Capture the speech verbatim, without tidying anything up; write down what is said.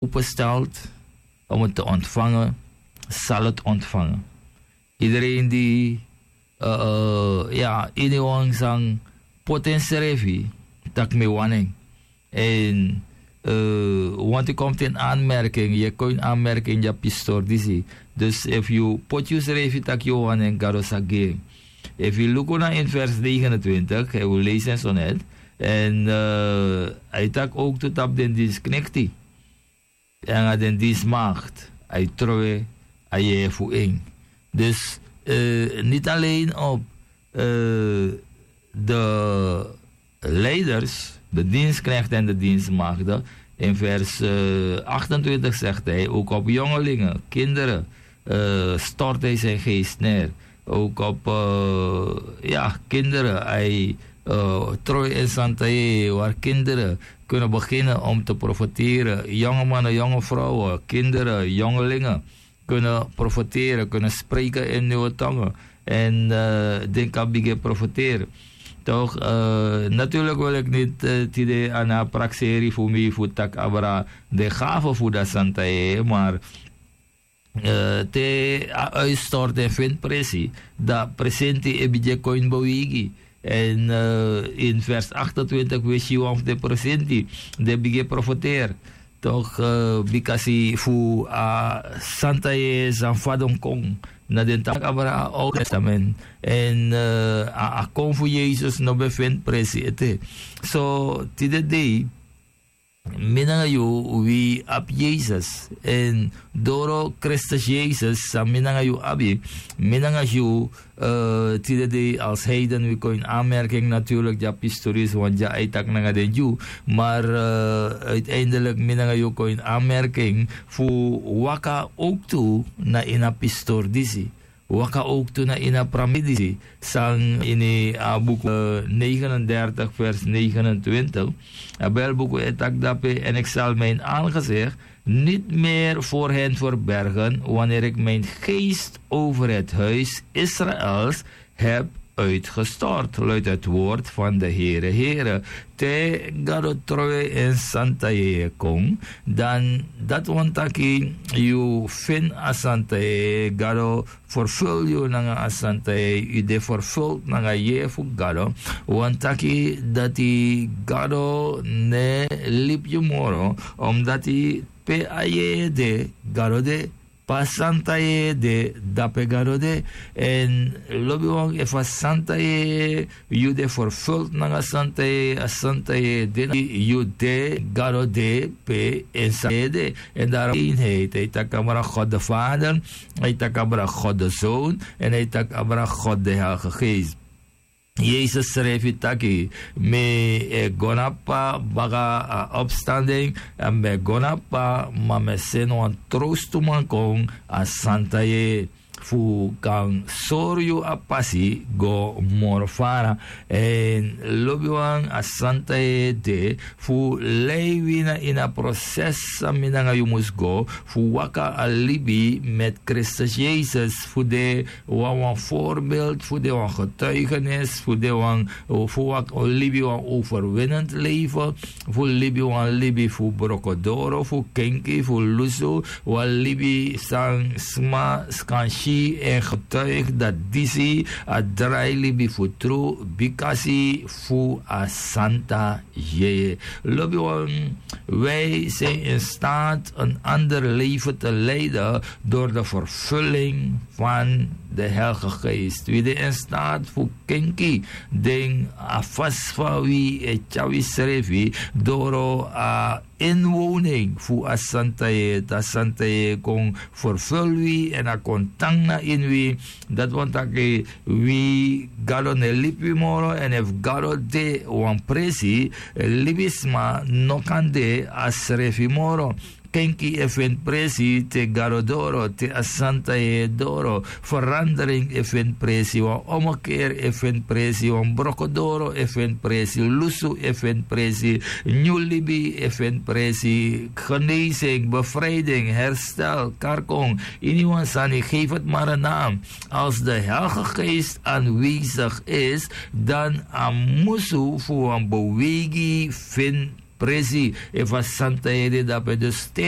opestelt om het te ontvangen, zal het ontvangen. Iedereen die, eh, eh, ya, ini wan san poti ensrefi, tak' mi wani en. En, eh, want yu komt in aanmerking, yu kon in aanmerking, yu abi pistori disi. Dus efu yu poti yusrefi tak' yu wani en, Gado sa gi en. Efu yu luku na in vers negenentwintig, hij wil lezen zo net. En, eh, hij tak' ook tu tapu den dinsknekti. En a den dienstmaagd, hij trowe a yeye fu en. Dus, eh, niet alleen op, eh, de leiders, de dienstknechten en de dienstmaagden. In vers, eh, achtentwintig zegt hij ook op jongelingen, kinderen, eh, stort hij zijn geest neer. Ook op, eh, ja, kinderen. Hij, eh, trooi en santa yeye, waar kinderen kunnen beginnen om te profiteren. Jonge mannen, jonge vrouwen, kinderen, jongelingen kunnen profiteren, kunnen spreken in nieuwe tongen. En, eh, den kan bigin profiteren. Toch, eh, natuurlijk wil ik niet, eh, tide ana prakseri fu mi fu tak' abra de gave fu da santa yeye, maar, eh, te a uitstorting vindt presi, da presenti e bigin kon in beweging. En, eh, in vers achtentwintig we si wan fu de presenti, de bigin profiteren. Toch, eh, bikasi fu a santa yeye san fadon kon na den tak' abra a Oud Testament. En, eh, a, a kon fu Yesus no ben vindt presi ete. So, tide dei, mi nanga yu, wi abi Yesus. En doro Kristus Yesus, san mi nanga yu abi, mi nanga yu, eh, tide dei als heiden, wi kon in aanmerking natuurlijk, dya pistori, want dya a e taki nanga den Dyu. Maar, eh, uiteindelijk, mi nanga yu kon in aanmerking fu waka ook tu na ini a pistori disi. Waka ook tu na ini a pramidisi. San ini a buku, eh, negenendertig vers negenentwintig. A Bijbelbuku e taki dape: "En ik zal mijn aangezicht niet meer voor hen verbergen, wanneer ik mijn geest over het huis Israëls heb uitgestort," luidt het woord van de Heere. Heere, te Gado trowe en santa yeye kon, dan dat' wani taki yu feni a santa yeye, Gado vervul yu nanga a santa yeye, yu de vervuld nanga yeye fu Gado. Wani taki dati Gado no e libi yu moro, omdati pe a yeye de, Gado de. Pe a santa yeye de, dape Gado de. En lobiwan, efu a santa yeye, yu de vervuld nanga santa yeye, a santa yeye de na yu, de, Gado de pe en santa yeye de. En daarom eenheid. Hij taki abra God de Vader, hij taki abra God de Zoon, en hij taki abra God de Heilige Geest. Yesus srefi taki: "Mi e go na P'pa baka a opstanding, èn mi e go na P'pa, ma mi e seni wan trostuman kon, a santa yeye, fu kan sori yu a pasi go moro fara." En lobiwan, a santa yeye de fu lei wi na ini a proses san mi nanga yu mus go, fu waka a libi met Kristus Yesus, fu de wan, wan voorbeeld, fu de wan getuigenis, fu de wan, fu waka, libi wan overwinnend leven, fu libi wan libi fu brokodoro, fu kenki, fu lusu, wan libi san sma skansi en getuig dat disi a drai libi fu tru, bikasi fu a santa yeye. Lobiwan, wij zijn in staat een ander leven te leiden door de vervulling van de Heilige Geest. Wi de in staat fu kenki den a fasi fa wi e tyari wi srefi doro a inwoning fu a santa yeye, te a santa yeye kon vervul wi en a kon tan na ini wi. Dat' wani taki wi, Gado no e libi wi moro, en efu Gado de wan presi, libisma no kan de a srefi moro. Kenki e feni presi te Gado doro, te a santa yeye doro. Verandering e feni presi, wan ommekeer e feni presi, wan brokodoro e feni presi, lusu e feni presi, nyun libi e feni presi, genezing, bevrijding, herstel, karkon, ini wan sani, geef het maar een naam. Als de Heilige Geest aanwezig is, dan a musu fu wan beweging feni presi. Efu a santa yeye de, dape dus te